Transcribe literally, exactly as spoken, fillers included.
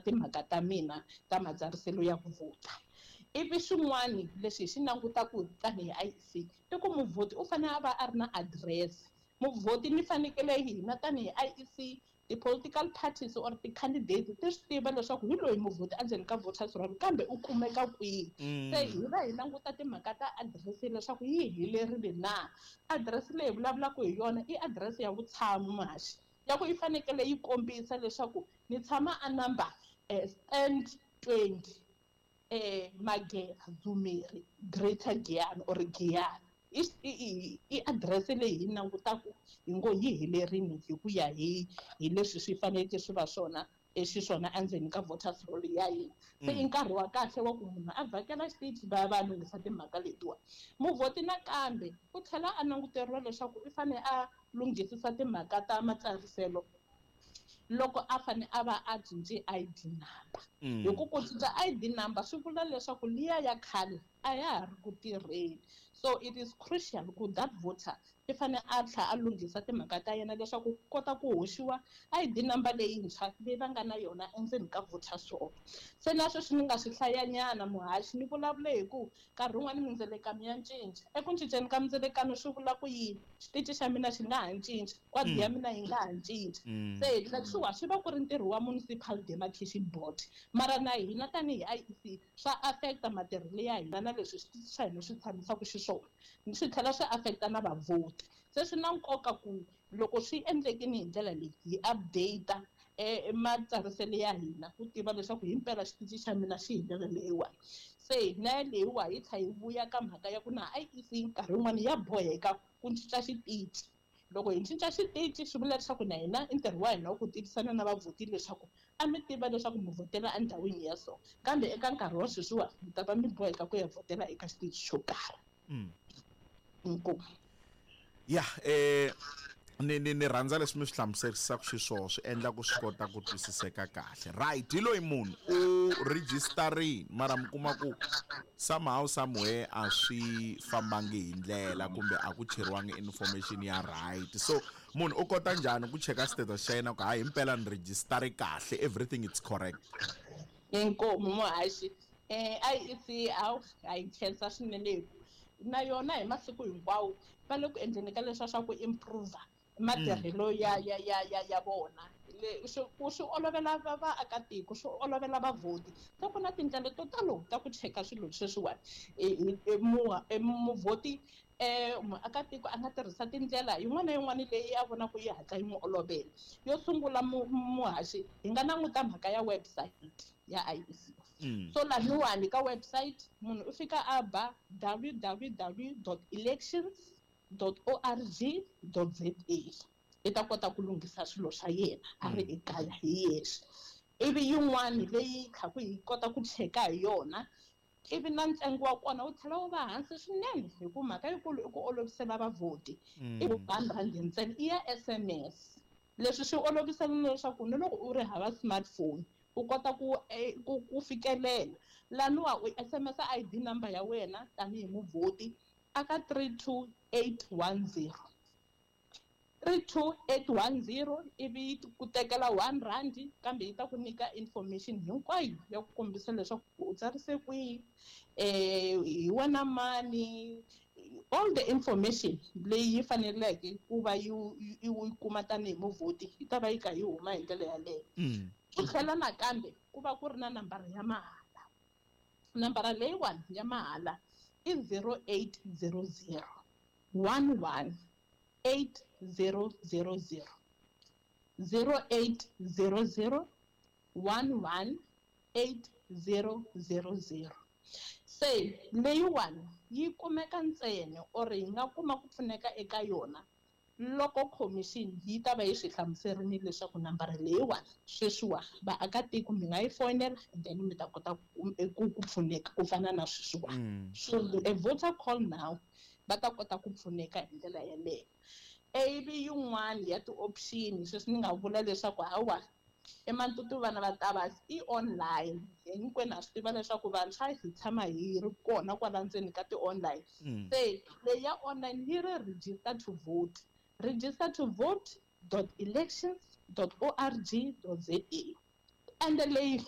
timhaka ta mina ta matsariselo ya ku vhota. Ivi swin'wani leswi hi xi langutaku tanihi I E C i ku muvhoti u fanele a va a ri na address. Muvhoti ni fanekele hina tanihi I E C, ti-political parties or ti-candidates ti swi tiva leswaku hi loyi muvhoti endzeni ka voters roll, kambe u kumeka kwihi. Se hi va hi languta timhaka ta adirese leswaku yi helerile na. Adirese leyi hi vulavulaka hi yona i adirese ya vutshamo, muhaxi, ya ku yi fanekele yi kombisa leswaku ni tshama a number um stand twenty, eh Magera, Dzumeri, Greater Giyani or Giyani. I i i adirese leyi hi langutaku hi ngo yi helerini hi ku ya hi hi leswi swi faneleke swi va swona xiswona endzeni ka voters roll ya hina. Se i nkarhi wa kahle wa ku munhu a vhakela xitichi va ya va ya lunghisa timhaka letiwa. Muvhoti nakambe u tlhela a languteriwa leswaku i fane a lunghisisa timhaka ta matsariselo loko a fane a va a cince I D number, hi ku ku cinca I D number swi vula leswaku liya ya khale a ya ha ri ku tirheni. So it is crucial ku that voter i fane a tlhela a lunghisa timhaka ta yena leswaku ku kota ku hoxiwa I D number leyintshwa leyi va nga na yona endzeni ka voters roll. Se na sweswi ni nga swi hlayanyana, muhaxi, ni vulavule hi ku nkarhi wun'wani mindzelekano ya cinca. Eku cinceni ka mindzelekano swi vula ku yini? Xitichi xa mina xi nga ha cinca, wadi ya mina yi nga ha cinca. Se leswiwa swi va ku ri ntirho wa Municipal Demarcation Board, mara na hina tanihi I E C swa affecta matirhelo ya hina na leswi xitichi xa hina swi tshamisaka xiswona, swi tlhela swi affecta na vavhoti. Se swi na nkoka ku loko swi endlekini hi ndlela leyi, hi update um matsariselo ya hina ku tiva leswaku himpela xitichi xa mina xi hi ndlela leyiwani. Se na leyiwa yi tlha yi vuya ka mhaka ya ku na I E C nkarhi wun'wani ya boheka ku cinca xitichi. Loko hi cinca xitichi swi vula leswaku na hina i ntirho wa hina wa ku tivisana na vavhoti leswaku a mi tiva leswaku mi vhotela endhawini ya so, kambe eka nkarhi wa sweswiwa mi ta va mi boheka ku ya vhotela eka xitichi xo karhi. Inkomu. Ya, eh ni ni ni rhandza leswi mi swi hlamuserisaka xiswona, swi endla ku swi kota ku twisiseka kahle. Right, hi loyi munhu u registerini, mara mi kuma ku somehow, somewhere a swi fambangi hi ndlela kumbe a ku cheriwangi information ya right. So munhu u kota njhani ku cheka status xa yena ku hayi, himpela ni registeri kahle, everything it's correct? Inkomu, muhaxi. um I E C hawu, ha yi khensa swinene hi ku na yona hi masiku hinkwawo va le ku endleni ka leswa swa ku improve matirhelo ya ya ya ya ya vona, le swi ku swi olovela va vaakatiko, swi olovela vavhoti. Se ku na tindlela to talo ta ku cheka swilo sweswiwani. Muvhoti, um muakatiko a nga tirhisa tindlela yin'wana na yin'wana leyi a vonaka yi hatla yi n'wi olovela. Yo sungula, muhaxi, hi nga languta mhaka ya website ya I E C. So laniwani ka website munhu u fika a ba W W W dot elections dot org dot za, i ta kota ku lunghisa swilo swa yena a ri ekaya hi yexe. Ivi yin'wani leyi khaku hi kota ku cheka hi yona, ivi na ntsengo wa kona wu tlhela wu va hansi swinene, hi ku mhaka yikulu i ku olovisela vavhoti, i one rand ntsena, i ya S M S. Leswi swi olovisela leswaku ni loko u ri hava smartphone u kota ku ku ku fikelela laniwa. U S M S I D number ya wena tanihi muvhoti aka three two eight one zero, three two eight one zero, ivi yi ku tekela one rand, kambe yi ta ku nyika information hinkwayo ya ku kombisa leswaku u tsarise kwihi, eh hi wena mani, all the information leyi yi faneleke ku va yi yi yi kuma tanihi muvhoti yi ta va yi kha yi huma hi ndlela yaleyo. Ku tlhela nakambe ku va ku ri na nambara ya mahala. Nambara leyiwani ya mahala i zero eight zero zero one one eight zero zero zero, zero eight zero zero one one eight zero zero zero. Se leyiwani yi kumeka ntsena or hi nga kuma ku pfuneka eka yona loko commission yi ta va yi swi hlamuserini leswaku nambara leyiwani sweswiwa vaakatiko mi nga yi fonela and then mi ta kota ku ku pfuneka ku fana na sweswiwani. So a voter call now, va ta kota ku pfuneka hi ndlela yeleyo. Ivi yin'wani ya ti-option sweswi ni nga vula leswaku hawa, eMantutu vana va Tavasi i online. Hinkwenu ha swi tiva leswaku vantshwa hi tshama hi ri kona kwala ndzeni ka ti-online. Se leyi ya online yi ri register to vote, register to vote dot elections dot org dot za. Ende leyi